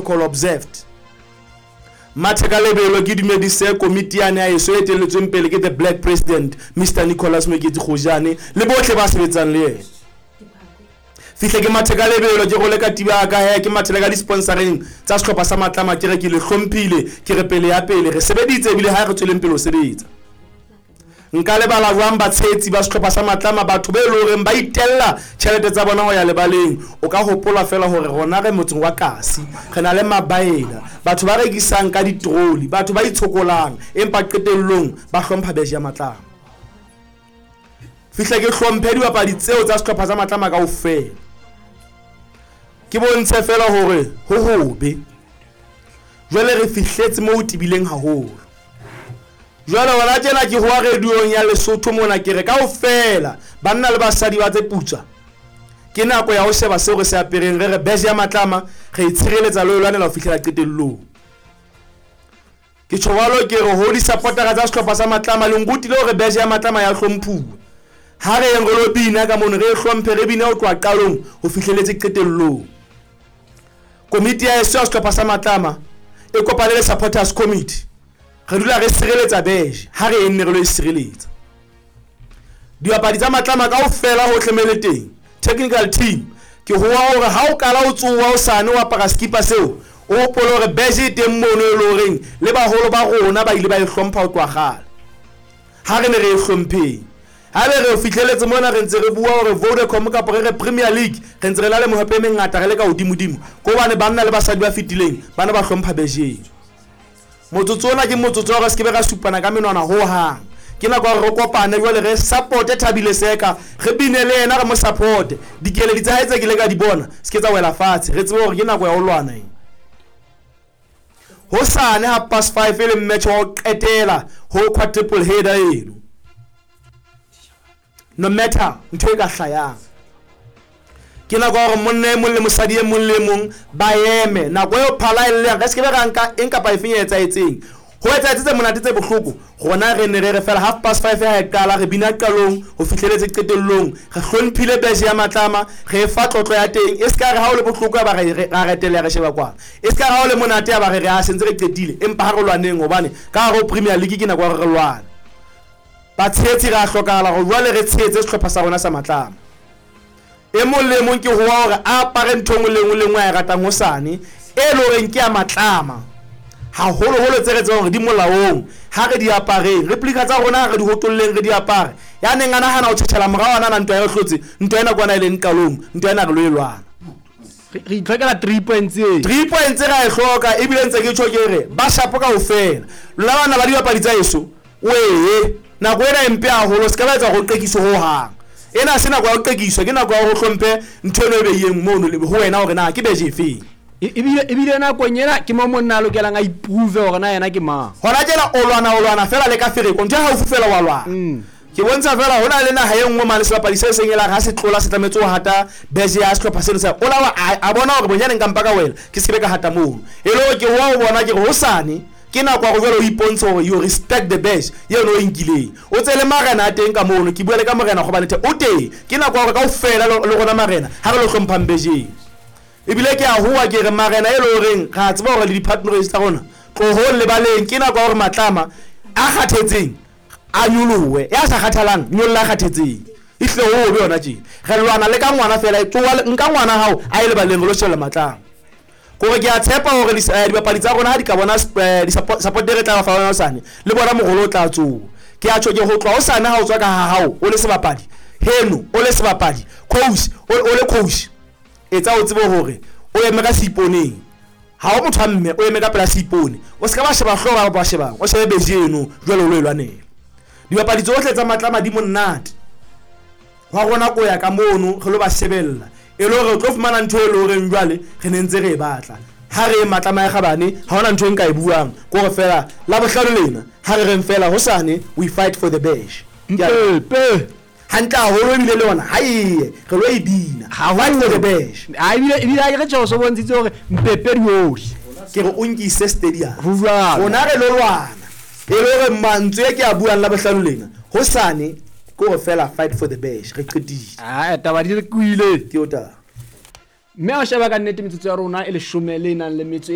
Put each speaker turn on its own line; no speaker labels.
protocol observed. Mathe ka lebelo ke dumedise komiti yane ya heso e etelletsweng pele ke the Black President Mister Nicholas Moeketsi Kgojane le bohle ba sebetsang le yena. Fihle ke mathe ka lebelo ke role katiba ya ka he ke mathele ka di-sponsoreng tsa sehlopha sa Matlama ke re ke le hlomphile ke re pele ya pele re sebeditse ebile ha re tsweleng pele ho sebetsa. Nka lebala jwang batshehetsi ba sehlopha sa Matlama, batho be le horeng ba itella tjhelete tsa bona ho ya lebaleng? O ka hopola feela hore rona re motseng wa Kasi, re na le mabaela, batho ba rekisang ka ditroli, batho ba itshokolang, empa qetellong ba hlompha beje ya Matlama. Fihle ke hlomphe dibapadi tseo tsa sehlopha sa Matlama kaofela. Ke bontshe feela hore ho hobe. Jwale re fihletse moo ho tebileng haholo. Jwale hona tjena ke hoa radiong ya Lesotho mona ke re kaofela banna le basadi ba tse putswa ke nako ya ho sheba seo re se apereng re re beje ya Matlama re e tshireletsa le ho e lwanela ho fihlela qetellong. Ke tjho jwalo ke re ho disapotara tsa sehlopha sa Matlama le nrutile hore beje ya Matlama ya hlomphuwa. Ha re yeng re lo bina ka mono re e hlomphe re bine ho tloha qalong ho fihleletse qetellong. Komiti ya heso ya sehlopha sa Matlama e kopane le Supporters Committee. Re dula re sireletsa beje, ha re enne re lo e sireletsa. Dibapadi tsa Matlama kaofela hohle me le teng, technical team, ke hoa hore ha o qala o tsoha hosane o apara sekipa seo, o hopole hore beje e teng mono e le horeng le baholo ba rona ba ile ba e hlompha ho tloha kgale. Ha re ne re e hlompheng. Haebe re fihleletse mona re ntse re bua hore Vodacom kapa re re Premier League, re ntse re na le mehope e mengata re le ka hodimodimo, ke hobane banna le basadi ba fetileng ba ne ba hlompha beje eno. Motsotso ona ke motsotso wa hore re se ke be ra supana ka menwana ho hang. Ke nako ya hore re kopane jwale re supporte Thabile Seka, re bine le yena re mo supporte. Dikeledi tsa hae tse ke ile ka di bona se ke tsa wela fatshe, re tsebe hore ke nako ya ho lwana ena. Hosane 5:30 e leng match wa ho qetela ho quadruple header eno. No matter ntho e ka hlayang. Ke nako ya hore monna e mong le mosadi e mong le e mong ba eme. Nako eo phala e llang, re se ke be ra nka eng kapa efeng e etsahetseng. Ho etsahetse tse monate tse bohloko, rona re ne re re fela 5:30 ha e qala, re bina qalong ho fihleletse qetellong. Re hlomphile beje ya Matlama, re e fa tlotlo ya teng. E se ka re ha o le bohloko ya ba re ra reteleha re sheba kwana. E se ka re ha o le monate ya ba re re a sentse re qetile, empa ha re lwaneng hobane ka hare ho Premier League ke nako ya hore re lwane. Batshehetsi re a hlokahala hore jwale re tshehetse sehlopha sa rona sa Matlama. E mong le e mong ke hoa hore a apare ntho e nngwe le e nngwe le e nngwe a e ratang hosane, e le horeng ke ya Matlama. Haholoholo tse re tsebang hore di molaong, ha re di apareng. Replica tsa rona ha re di hotolleng re di apare. Ya neng a nahana ho tjhetjhela morao a nahana ntwa e re hlotse, ntwa ena kwana e leng qalong, ntwa ena re lo e lwana.
Re itlhokela 3 points e.
3 points ra e hloka ebile ntse ke tjho ke re ba shapo kaofela. Lona bana ba dibapadi tsa heso, wee, nako ena e mpe haholo, se ka ba etsa hore o qekiswe ho hang. Ena ha se nako ya ho qekiswa, ke nako ya hore o hlomphe ntho eno e beileng mono le ho wena hore na ke beje efeng.
Ebile nakong ena ke mo monna a lokelang a iprove hore na yena ke mang.
Hona tjena o lwana o lwana feela le ka fereko, ntho e haufi feela wa lwana. Ke bontsha feela ho na le naha e nngwe mane sebapadi se seng e la re ha se tlola se tlametse ho hata beje ya sehlopha seno sa o la wa a bona hore bonyane nka mpa ka wela ke se ke be ka hata mono. E le hore ke hoa o bona ke re hosane ke nako ya hore jwale o ipontshe hore you respect the badge eno o e nkileng. O tse le marena a teng ka mono, ke bua le ka morena Kgobanethe o teng. Ke nako ya hore kaofela le rona marena ha re lo hlomphang bejeng. Ebile ke a hoa ke re marena e le horeng re a tseba hore le di-partners tsa rona tlohong lebaleng ke nako ya hore Matlama a kgathetseng a nyolohe, ya sa kgathalang nyolla a kgathetseng. Ehlile ho hobe hona tjena. Re lwana le ka ngwana feela, tsoha nka ngwana hao a ye lebaleng re lo shebella Matlama. Kore ke a tshepa hore dibapadi tsa rona ha di ka bona support e re tla ba fa yona hosane, le bona morolo o tla tsoha. Ke a tjho ke ho tloha hosane ha o tswa ka ha hao o le sebapadi, heno o le sebapadi, coach o le coach, etsa o tsebe hore o eme ka seiponeng. Ha o motho wa mme o eme ka pela seipone, o se ka ba sheba hlooho ba ba shebang, o shebe beje eno jwale o lo e lwanela. Dibapadi tsohle tsa Matlama di monate. Hwa rona ko ya ka mono re lo ba shebella e le hore re tlo fumana ntho e le horeng jwale re ne ntse re e batla. Ha re Matlama ya Kgabane ha hona ntho e nka e buang, ke hore feela Labohlano lena ha re reng feela hosane we fight for the badge.
Mpepe.
Hantle haholo ebile le yona ha eye re lo e bina. Fight for the badge.
Ha ebile ha ke re tjho so bontshitse hore Mpepe di ohle.
Ke re o nkise stadium.
Ho jwalo.
Rona re lo lwana. E le hore mantswe e ke a buang Labohlano lena hosane ke hore fela fight for the badge re qetile.
Ah, taba di re kwile.
Ke o taba.
Mme ha o sheba ka nnete metsotso ya rona e leshome le nang le metso